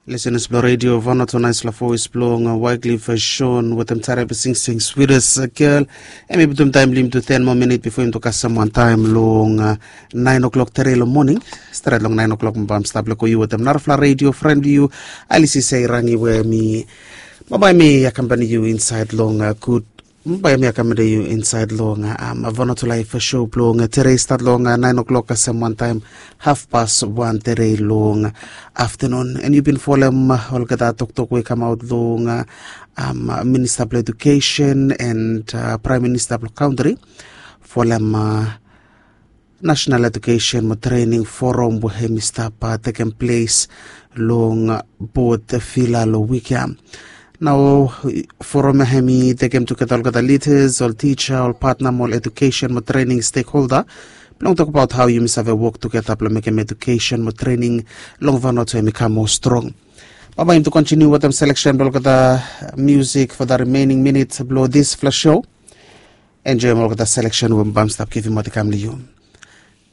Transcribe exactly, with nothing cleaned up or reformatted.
Lisenas blong redio Vanuatu, naispela voes blong Wycliffe Shon wetem Tarabi Sing Sing Sweetest Girl. Em i putum taem blong yumi tu ten moa minit bifo yumi tu kasem wantaem long naen o'klok tere long moning. Stret long naen o'klok mi bae mi stap leko yu wetem narafala redio fren blong yu, Alisi Seirangi, we mi bambae mi akambani yu insaed long gud Bae mi akambani yu insaed long Vanuatu Laef Show blong tere i stat long naen o'klok kasem wantaem hafpas wan tere long aftanun. En yu bin folem olgeta toktok we i kamaot long Minista blong Edukesen en Praem Minista blong kantri folem National Education mo Training Forum we hem i stap tekem ples long Port Vila long wik ya. Nao forum ya hem i tekem tugeta olgeta lidas, ol tija, ol patna mo ol edukesen mo trening stekholda blong tokbaot hao yumi save wok tugeta blong mekem edukesen mo trening long Vanuatu hem i kam moa strong. Bambae yumi tu kontiniu wetem seleksen blong olgeta musik fo da rimening minit blong disfala show. Enjoem olgeta seleksen we mi bae mi stap givimaot i kam long yu.